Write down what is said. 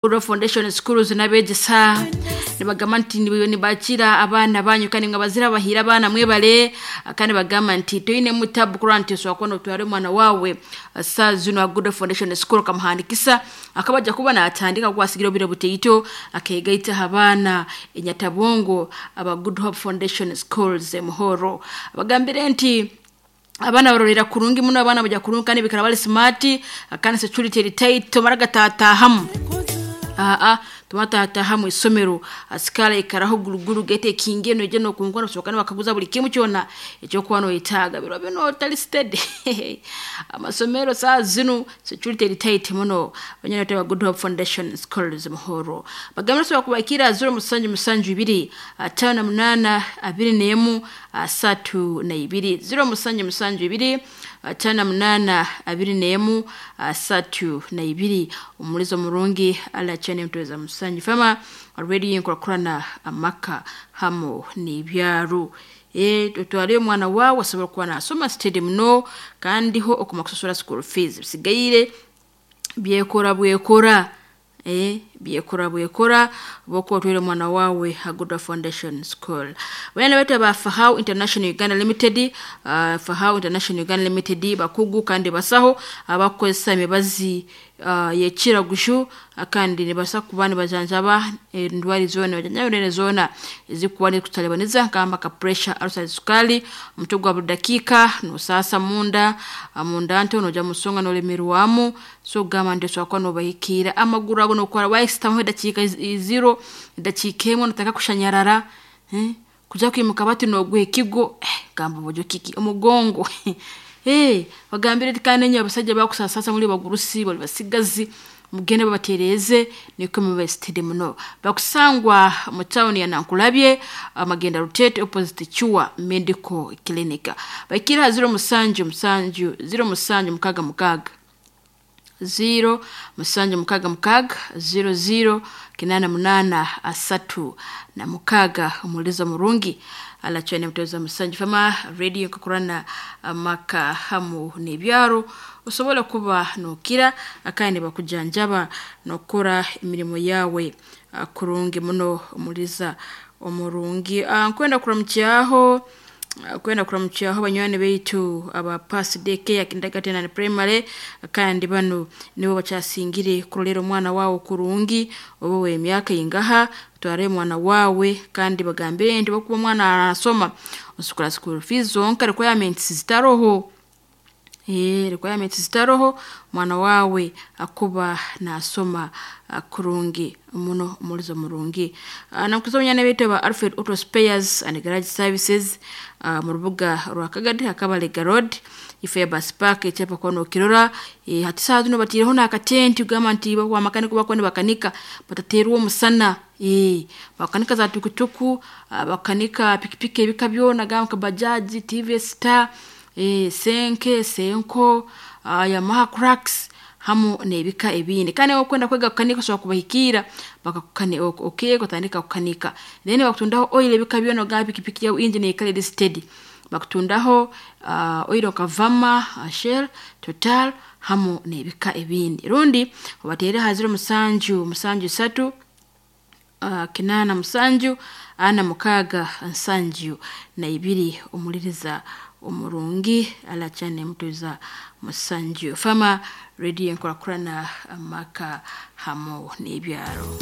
Rural Foundation Schools n'abeegesa nibagamba nti nibakira abaana banyu kandi nga bazira bahira abaana mwebale, kandi bagamba nti toine mutabu kurora nti osobola kuba notwara omwana wawe saa zino Good Foundation School okamuhandikisa akaba ajja kuba natandika kukwasigira obwire butaito akegaita abaana enyatabongo aba Good Hope Foundation Schools Muhoro. Bagambire nti abaana barorera kurungi muno, abaana bajya kurungi kandi bikara bali smart kandi security eri tight, tomara gatatahamu aa tumatataha mu isomero asikara ikaraho guruguru gete kinge noje nokunkona soka bakaguza buli kimu kyona ekyokuba noyetaaga biro bino otali steady. Amasomero saa zino security eri tight muno. Banyana ba Good Hope Foundation Schools Muhoro bagambira sobola kubakira 0772 58 21 32, 0772 58 21 32. Omulizo murungi ala chane mtoweza musanju fama already nkurakurana amaka hamo n'ibyaro. Tutwale omwana wawe asobora kuba nasoma steady muno kandi ho okuma kusasura school fees bisigaire byekora bwekora, byekora bwekora bokuba otwire omwana wawe Good Hope Foundation School. Banyana baitu aba Fahau International Uganda Limited, Fahau International Uganda Limited bakugu kandi basaho abakukozesa emibazi yekiragushu kandi nibasa kuba nibajanjaba endwara zoona, bajanjaba endwara zoona ezikuba nizikutalibaniza nkamba ka pressure, ulcer, sukali, omutwe gwa buli dakiika nosaasa munda, munda nto noja musonga nolemerwamu. So gamba nti osobola kuba nobahikiira amaguru ago nokora waisitamu edakiika ziro edakiika emwe notandika kushanyarara, kuja kwimuka bati nogwa ekigo, gamba bojo kiki omugongo. Bagambire nti kandi enye abasajja bakusasasa muli bagurusi bali basigazi mugende babatereze nikwo mube steady muno. Bakusangwa mu town ya Nankulabye, Magenda Rutete opposite Chua Medical Clinic. Bakira 07 07 66 0 7 66 00 88 36. Omulizo murungi alachane mutoweza musanju fama radio kukurana amaka hamu n'ibyaro osobola kuba nokira kandi bakujanjaba nokora emirimo yawe kurungi muno. Omuliza omurungi nkwenda kuramukyaho, kwenda kuramukyaho banywani baitu aba Pass Day Care Kindergarten and Primary kandi bano nibo bakyasingire kurolera omwana wawe kurungi oba w'emyaka ingaha tware omwana wawe kandi bagambire nti bokuba omwana arasoma osukura school fees zonka requirements zitaroho, requirements zitaroho omwana wawe akuba nasoma kurungi muno. Omulizo murungi nakuza abanyana baitu aba Alfred Auto Spares and Garage Services mu rubuga rwa Kagadi Hakabalega Road ifo ya bus park ekyapa kuba nokirora. Hati saaha zino batiireho n'akatenti kugamba nti bamakanika bakuba nibakanika batateerwa omusana, bakanika za tukutuku, bakanika pikipiki ebika byona gamba nka bajaji, TVS Star, senke senko, Yamaha Crux hamu n'ebika ebindi. Kandi okwenda kwega kukanika osobola kubahikiira okeega otandika kukanika, then bakutundaho oil ebika byona ogamba pikipiki yawe engine ekara eri steady. Bakutundaho oil nka Vama, Shell, Total hamu n'ebika ebindi. Rundi obateere ha 07 73 87 46 72. Omuliriza omurungi alachane mutuza musanju fama radio enkurakurana amaka hamu n'ibyaro.